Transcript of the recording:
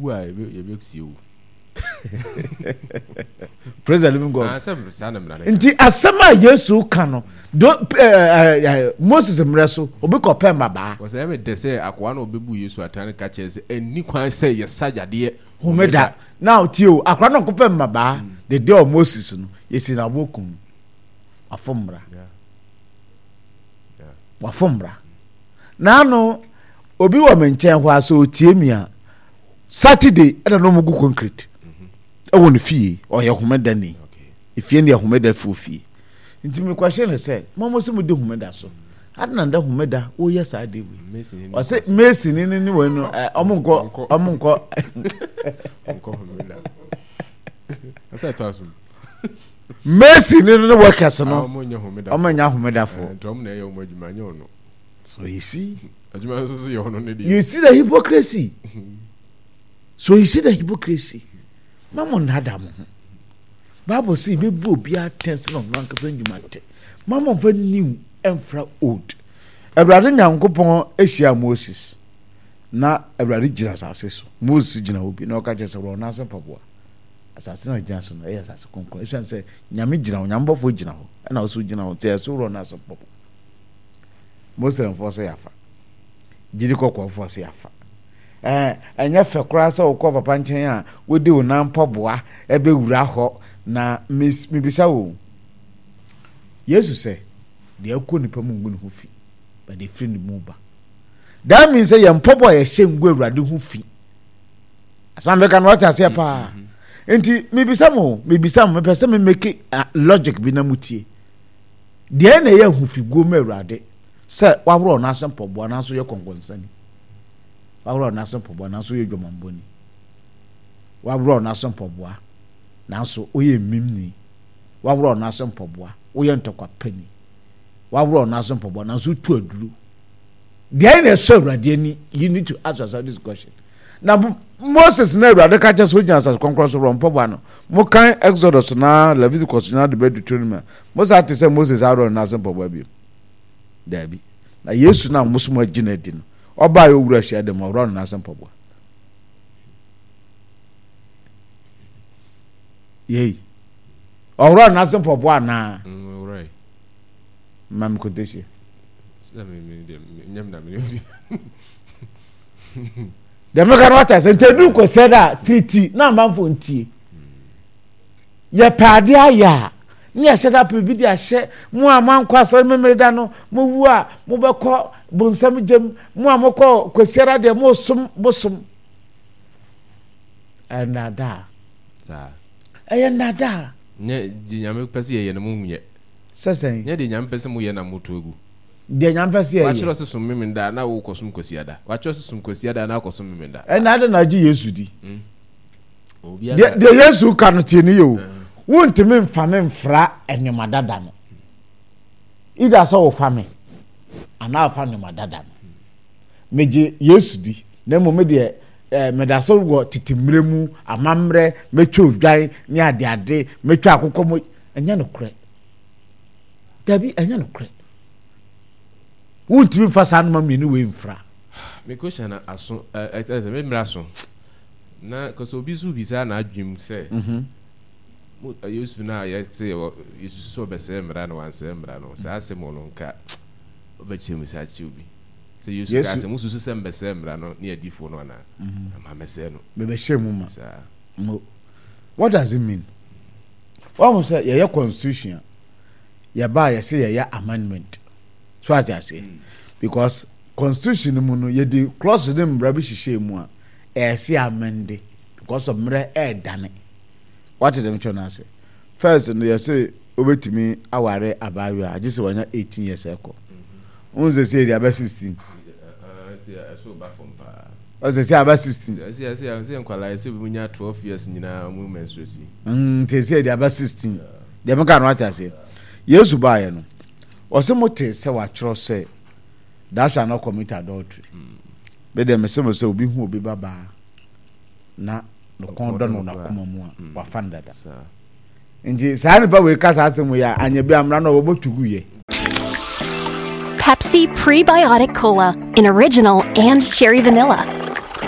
Wowu a yɛbɛsie wo. Praise the living God. Ah, Nti asɛm a Yesu ka no do eh, eh, eh, Moses mmerɛ so obi kɔ pɛ mmabaa. Wɔsɛ ɛmɛ dɛ sɛ akoa na ɔbɛbu Yesu atan no ka kyerɛ sɛ ɛnni kwan sɛ yɛsa yadeɛ homeda. Now tie o, akora no ɔkɔpɛ mmabaa mm. the day of Moses no yɛsi na aboɔ kum wafo mmara. Wafo mmara. Naano obi wɔ me nkyɛn hɔ a sɛ ɔtie mi a Saturday ɛna na wɔn gu concrete ɛwɔ ne fie ɔyɛ homeda ni efie ne yɛ homeda fuo fie nti mekɔhyɛ no sɛ mo mo sɛ mo di homeda so adi na nda homeda woyɛ saa de wei ɔsɛ mason ne ne wei no ɛ ɔmo nkɔ ɔmo nkɔ mason ne ne workers no ɔmo nya homeda fo so you see. You see the hypocrisy. So you see the hypocrisy. Ma mo nnada mo ho. Bible sɛ yɛbɛbu obiara atɛn sɛ na ɔno ankasa nnwuma te. Ma mo mfa new ɛmfra old. Awurade Nyankopɔn ahyia Moses na Awurade gyina asase so. Moses gyina hɔ bi na ɔka kyerɛ sɛ wɔn ase mpaboa. Asase na gyina so no ɛyɛ asase kronkron. Esiane sɛ Nyame gyina hɔ, Nyame bɔfoɔ gyina hɔ, ɛna ɔso gyina hɔ nti ɛso worɔ no ase mpaboa. Muslimfoɔ sɛ yɛafa. Gyidi kɔkɔɔfoɔ sɛ yɛafa. Ɛɛ ɛnyɛ fɛ koraa sɛ wokɔ papa nkyɛn a wode wo nan mpaboa ɛbɛwura hɔ na mebisa wo. Yesu sɛ deɛ ɛkɔ nipa mu ngu ne ho fi, but deɛ ɛfiri ne mu ba. That means sɛ yɛn mpaboa a yɛhyɛ ngu Awurade ho fi. Asɛm a meka no wate aseɛ paa. Mm-hmm. Nti mebisa mo, mebisa mo, mepɛ sɛ me make logic bi na mutie. Deɛn na ɛyɛ ahofiguo ma Awurade sɛ waworɔ n'ase mpaboa nanso yɛ kɔnkɔnsani? Waworɔ n'ase mpaboa nanso yɛ dwamanbɔni. Waworɔ n'ase mpaboa nanso woyɛ mmimni. Waworɔ n'ase mpaboa woyɛ ntɔkwapɛni. Waworɔ n'ase mpaboa nanso wotu aduro. Deɛn na ɛsɔ Awurade ani? You need to ask yourself this question. Na Moses na Awurade ka kyerɛ sɛ ogyina asase kronkron so worɔ mpaboa no. Mokan Exodus na Leviticus nyinaa de bɛ Deuteronomy a, mo saa te sɛ Moses Aaron no ase mpaboa bio? Daabi. Na Yesu no a mo so mo agye no adi no, ɔbaa yɛ owura hyia dɛm ɔworɔ no n'ase mpaboa. Yei. Ɔworɔ no n'ase mpaboa anaa? Mm, Ma me quotation. Deɛ meka no wata sɛ nti ɛduru kɔsɛ da a tiriti na amanfoɔ ntie yɛpɛ adeɛ ayɛ a ne yɛhyɛ da pɛ bi de ahyɛ mo a moankɔ asɔre memere da no mowu a mobɛkɔ bonsam gyam mo a mokɔ kwasiara deɛ mosom bosom ɛnnadaa ɛyɛ nnadaa nyɛ deɛ nyame pɛ sɛ yɛyɛ no mo nyɛ sɛ sɛn nyɛ deɛ nyame pɛ sɛ moyɛ na moto agu Deɛ Nyame pɛ sɛ yɛyɛ. Wakyerɛ sɛ som Memenda na wokɔ som Kwasiada. Wakyerɛ sɛ som Kwasiada na akɔ som Memenda. Ɛna adɛn na agye Yesu di? Hmm. Deɛ deɛ Yesu ka no tie ne yɛ o. Hmm. Wontumi nfa me mfra nneɛma dada no. Either sɛ wofa me anaa wofa nneɛma dada no. Megye Yesu di na mmom me deɛ eh, meda so wɔ tete mmerɛ mu amammerɛ mɛtwa odwan ne adeade mɛtwa akokɔ mo ɛnyɛ nokorɛ. Dabi, ɛnyɛ nokorɛ. Wontumi mfa saa noma mmienu wei mfra. Me question na aso ɛ ɛ sɛ me mmerɛ aso na kɔsɛ obi nso bisa n'adwene mu sɛ mhm. mo Yesu no a yɛte Yesu sɛ ɔbɛsɛe mmara no wansɛe mmara no saa asɛm no nka ɔbɛkyerɛ mu sɛ akyerɛ obi sɛ Yesu kaa sɛ mosusu sɛ mbɛsɛe mmara no ne adiifoɔ no anaa mhm. ama mɛsɛe no mebɛhyɛ mu ma saa mo what does it mean wɔn sɛ yɛyɛ constitution a yɛba a yɛsɛ yɛyɛ amendment so ate aseɛ because constitution no mu no yɛde clause ne mmara bi hyehyɛ mu a ɛsɛ amende because of mmerɛ ɛɛdane wate dɛm kyɛw no ase first no yɛsɛ wobɛtumi aware abaayewa agye sɛ wanya 18 years ɛkɔ wohu sɛ sɛ yɛde aba 16 ɔsɛ sɛ aba 16 nti sɛ yɛde aba 16 Deɛ meka no wate aseɛ? Yesu baeɛ no, ɔse mote sɛ wɔatwerɛ sɛ thou shalt not commit adultery. Me deɛ mese mo sɛ obi hu obi babaa na ne kɔn dɔ no n'akoma mu a, mm. wafa no dada. Nti saa nipa wei ka saa asɛm wei a, anyɛ bi amena no ɔbɛbɔ tugu yɛ. Pepsi Prebiotic Cola in original and cherry vanilla.